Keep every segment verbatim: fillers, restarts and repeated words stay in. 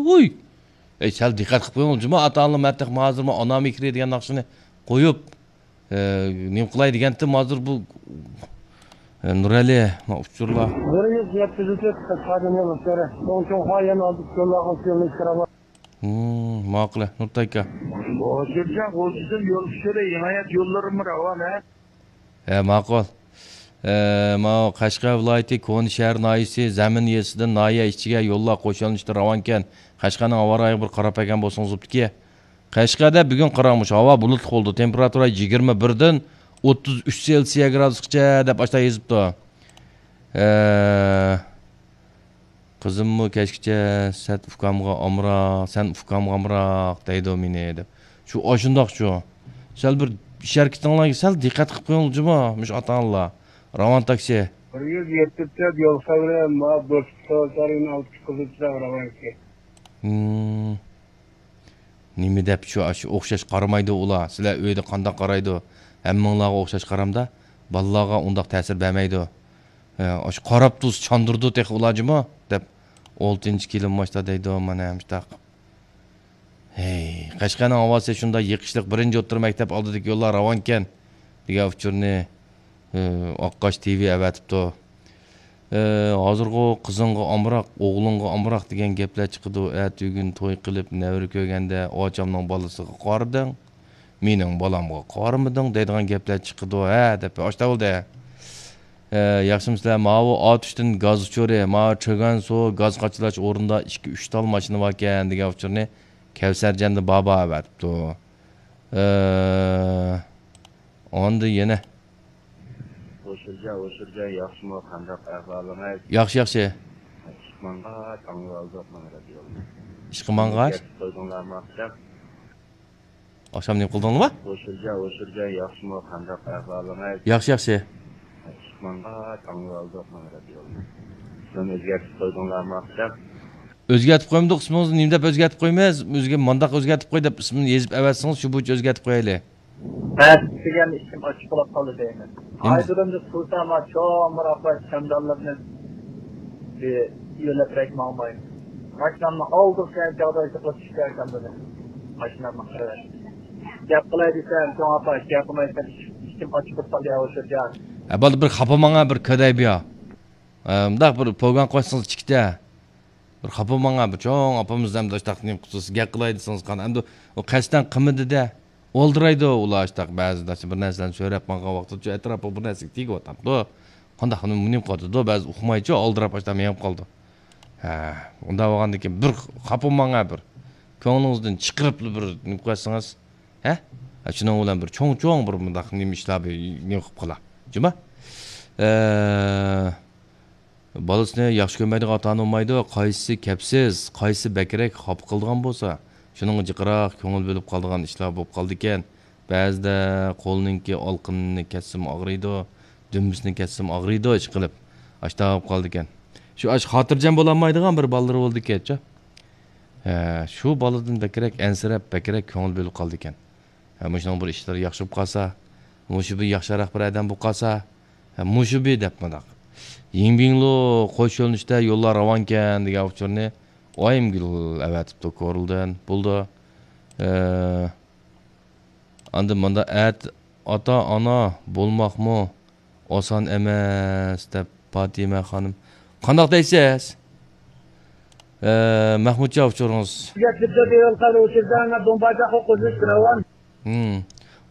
ھۇي! ئەي، سەل دىققەت قىلىپ قويۇڭ، جۇما ئاتا-ئانىلار، مەن تېخى ھازىرمۇ ئانا مېھرى دېگەن ناخشىنى قويۇپ، ئە، نېمە قىلاي دېگەنتىم، ھازىر بۇ، ئە، نۇرئەلى، ما ئۇچۇرلار. بىر يۈز يەتتە يۈز ئىككى قىسقاردىن يول ئۇچۇرى. چوڭ چوڭ قايان ئالدى يوللارغا يول ئىشلىرى بار. ھىم، ماقۇل، نۇرتاي ئاكا. ھوشۇرجان، غۇلجىدىن يول ئۇچۇرى، ھىمايەت يوللىرىمۇ راۋان، ھە؟ ھە، ماقۇل. ئە، ماۋۇ قەشقەر ۋىلايىتى كونا شەھەر ناھىيەسى زەمىن يېزىسىدىن ناھىيە ئىچىگە يوللار قوشۇلۇشتا راۋانكەن. قەشقەرنىڭ ھاۋا رايىغا بىر قاراپ بەرگەن بولسىڭىز بوپتىكى. قەشقەردە بۈگۈن قاراڭ، مۇشۇ ھاۋا بۇلۇتلۇق بولىدۇ. تېمپېراتۇرا يىگىرمە بىردىن ئوتتۇز ئۈچ سېلسىيە گرادۇسقىچە دەپ ئاشتا يېزىپتۇ. ئە، قىزىممۇ كەچكىچە سەن ئۇكامغا ئامراق، سەن ئۇكامغا ئامراق دەيدۇ مېنى دەپ. شۇ ئاشۇنداق شۇ. سەل بىر ئىش ھەرىكىتىڭلارغا سەل دىققەت قىلىپ قويۇڭلار جۇما، مۇشۇ ئاتا-ئانىلار. راۋان تاكسى. بىر يۈز يەتتە تۆت يول خەۋىرى، ما بۆكۈت سوچارىنىڭ ئالتە قىزىلچىراغ راۋانكى. ھىم. نېمە دەپ شۇ، شۇ ئوخشاش قارىمايدۇ ئۇلار. سىلەر ئۆيدە قانداق قارايدۇ؟ ھەممىڭلارغا ئوخشاش قارامدا، بالىلارغا ئۇنداق تەسىر بەرمەيدۇ. ھە، ئاشۇ قاراپ تۇرسا چاندۇرىدۇ تېخى ئۇلار جۇمۇ دەپ، ئولتىنچى كېلىن ماشتا دەيدۇ، مانا مۇشتاق. ھەي، قەشقەرنىڭ ھاۋاسى شۇنداق يېقىشلىق، بىرىنچى ئوتتۇرا مەكتەپ ئالدىدىكى يوللار راۋانكەن دېگەن ئۇچۇرنى، ئە، ئاققاش تىۋى ئەۋەتىپتۇ. ئە، ھازىرغۇ قىزىڭغا ئامراق، ئوغلۇڭغا ئامراق دېگەن گەپلەر چىقىدۇ. ئەتىگۈن توي قىلىپ نەۋرە كۆرگەندە ئاچامنىڭ بالىسىغا قارىدىڭ، مېنىڭ بالامغا قارىمىدىڭ دەيدىغان گەپلەر چىقىدۇ ھە دەپ ئاشتا بولدى. ئە، ياخشىمۇسىلەر؟ ماۋۇ ئاتۇشتىن گاز ئۇچۇرى، ماۋۇ چۆگەنسۇ گاز قاچىلاش ئورنىدا ئىككى، ئۈچ تال ماشىنا باركەن دېگەن ئۇچۇرنى كەۋسەرجان دە بابا ئەۋەتىپتۇ. ئە، ئاندىن يەنە. ھوشۇرجان، ھوشۇرجان، ياخشىمۇ؟ قانداق ئەھۋالىڭىز؟ ياخشى، ياخشى. ئىشقا ماڭغاچ ئاڭلىۋالدۇق مانا رادىيونى. ئىشقا ماڭغاچ؟ كەتتى قويدۇڭلارمۇ ئاخشام؟ ئاخشام نېمە قىلدىڭلارما؟ ھوشۇرجان، ھوشۇرجان، ياخشىمۇ؟ قانداق ئەھۋالىڭىز؟ ياخشى، ياخشى. ئىشقا ماڭغاچ ئاڭلىۋالدۇق مانا رادىيونى. ئىسمىنى ئۆزگەرتىپ قويدۇڭلارمۇ ئاخشام؟ ئۆزگەرتىپ قويمىدۇق، ئىسمىڭىزنى نېمە دەپ ئۆزگەرتىپ قويىمىز؟ ئۆزگە مانداق ئۆزگەرتىپ قوي دەپ ئىسمىنى يېزىپ ئەۋەتسىڭىز، شۇ بويىچە ئۆزگەرتىپ قويايلى. بەس دېگەن ئىچىم ئاچچىق بولۇپ قالدى دەيمەن. نېمە؟ ئايدۇرۇمدا تۇرسام، چوڭ بىر ئاپا چامدانلىرىنى يۆلەپ بەك ماڭماي. ماشىنامنى ئالدىم، سەن چاغدا ئىشقا چۈشۈپ كەلسەم دېدى. ماشىنامنى قىلىۋەت. گەپ قىلاي دېسەم، چوڭ ئاپا، گەپ قىلمايسەن، ئىچىم ئاچچىق بولۇپ قالدى، ھە، ھوشۇرجان. ھە، بالدۇر، بىر خاپا ماڭا، بىر كۆدەي بۇ يا. ئە، مۇنداق بىر پوگان قوشسىڭىز ئىككىتە. بىر خاپا ماڭا، بىر چوڭ ئاپىمىز ئەمدى ئاشتاق نېمە قىلسىز، گەپ قىلاي دېسىڭىز قان. ئەمدى ئۇ قەستەن قىلمىدى-دە. ئالدىرايدۇ ئۇلار ئاشتاق بەزىدە، بىر نەرسىلەرنى سۆرەپ ماڭغان ۋاقتىدا شۇ ئەتراپىغا بىر نەرسىگە تېگىۋاتامدۇ. قانداق نېمە قىلىدۇ، بەزى ئۇقمايچۇ، ئالدىراپ ئاشتاق مېڭىپ قالىدۇ. ھە، ئۇنداق بولغاندىن كېيىن بىر خاپا ماڭا بىر. كۆڭلىڭىزدىن چىقىرىپلا بىر نېمە قىلسىڭىز، ھە؟ ھە، شۇنىڭ بىلەن بىر چوڭ-چوڭ بىر مۇنداق نېمە ئىشلار بىر نېمە قىلىپ قالا. جۇما؟ ئە، بالىسىنى ياخشى كۆرمەيدىغان ئاتا-ئانا بولمايدۇ. قايسىسى كەپسىز، قايسىسى بەكرەك خاپا قىلىدىغان بولسا، شۇنىڭغا جىقراق كۆڭۈل بۆلۈپ قالىدىغان ئىشلار بولۇپ قالىدىكەن. بەزىدە قولنىڭكى ئالقىنىنى كەسسىمۇ ئاغرىيدۇ، دۈمبىسىنى كەسسىمۇ ئاغرىيدۇ، ئىشقىلىپ، ئاشتاق بولۇپ قالىدىكەن. شۇ ئاش خاتىرجەم بولالمايدىغان بىر بالىلىرى بولىدىكەنچۇ. ھە، شۇ بالىدىن بەكرەك ئەنسىرەپ، بەكرەك كۆڭۈل بۆلۈپ قالىدىكەن. ھە، مۇشۇنىڭ بىر ئىشلىرى ياخشى بولۇپ قالسا، مۇشۇ بىر ياخشىراق بىر ئادەم بولۇپ قالسا، ھە، مۇشۇ بىر دەپ مۇنداق. يىڭبىڭلۇ قوش يۆنىلىشتە يوللار راۋانكەن دېگەن ئۇچۇرنى ئايىمگۈل ئەۋەتىپتۇ كورلىدىن. بولدى. ئە، ئاندىن مۇنداق ئەت-، ئاتا-ئانا بولماقمۇ ئاسان ئەمەس، دەپ پاتىمە خانىم. قانداق دەيسىز؟ ئە، مەخمۇتجان ئۇچۇرىڭىز. ھىم.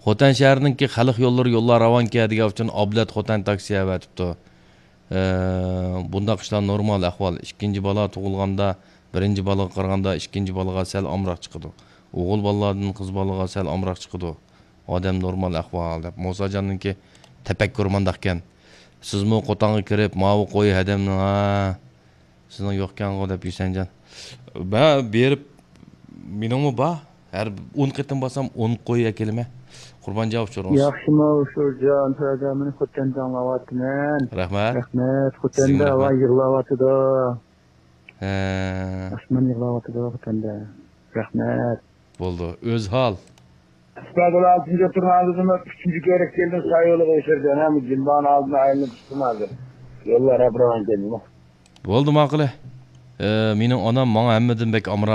خوتەن شەھىرىنىڭكى خەلق يوللىرى يوللار راۋانكەن دېگەن ئۈچۈن ئابلەت خوتەن تاكسى ئەۋەتىپتۇ. ئە، بۇنداق ئىشلار نورمال ئەھۋال. ئىككىنچى بالا تۇغۇلغاندا، بىرىنچى بالىغا قارىغاندا، ئىككىنچى بالىغا سەل ئامراق چىقىدۇ. ئوغۇل بالىلاردىن قىز بالىغا سەل ئامراق چىقىدۇ. ئادەم نورمال ئەھۋال دەپ. مۇساجاننىڭكى تەپەككۇرى مانداقكەن. سىزمۇ قوتانغا كىرىپ، ماۋۇ قوي ھەدەمنىڭ، ھا، سىزنىڭ يوقكەنغۇ دەپ يۈسەنجان. مەن بېرىپ، مېنىڭمۇ بار. ھەر ئون قېتىم بارسام، ئون قوي ئەكېلىمەن. قۇربانجان ئۇچۇرىڭىز. ياخشىمۇ ئۇچۇرجان، سۆزلەمنى خوتەندە ئاڭلاۋاتىمەن. رەھمەت. رەھمەت، خوتەندە ھاۋا يىغلاۋاتىدۇ. ھە. ئاسمان يىغلاۋاتىدۇ خوتەندە. رەھمەت. بولدى، ئۆزھال. ئىسپاتىل ئالتىنچى تۇرنىڭ ئالدىدا ئۈچىنچى كۆرۈك كېلىدۇ، سايولىغا ئۆچۈرگەن، ھە، جىمبانىڭ ئالدىدىن ئايلىنىپ چىقتىم ھازىر. يوللار ھەپ راۋان كەلدىمۇ. بولدى، ماقۇلى. ئە، مېنىڭ ئانام ماڭا ھەممىدىن بەك ئامراق.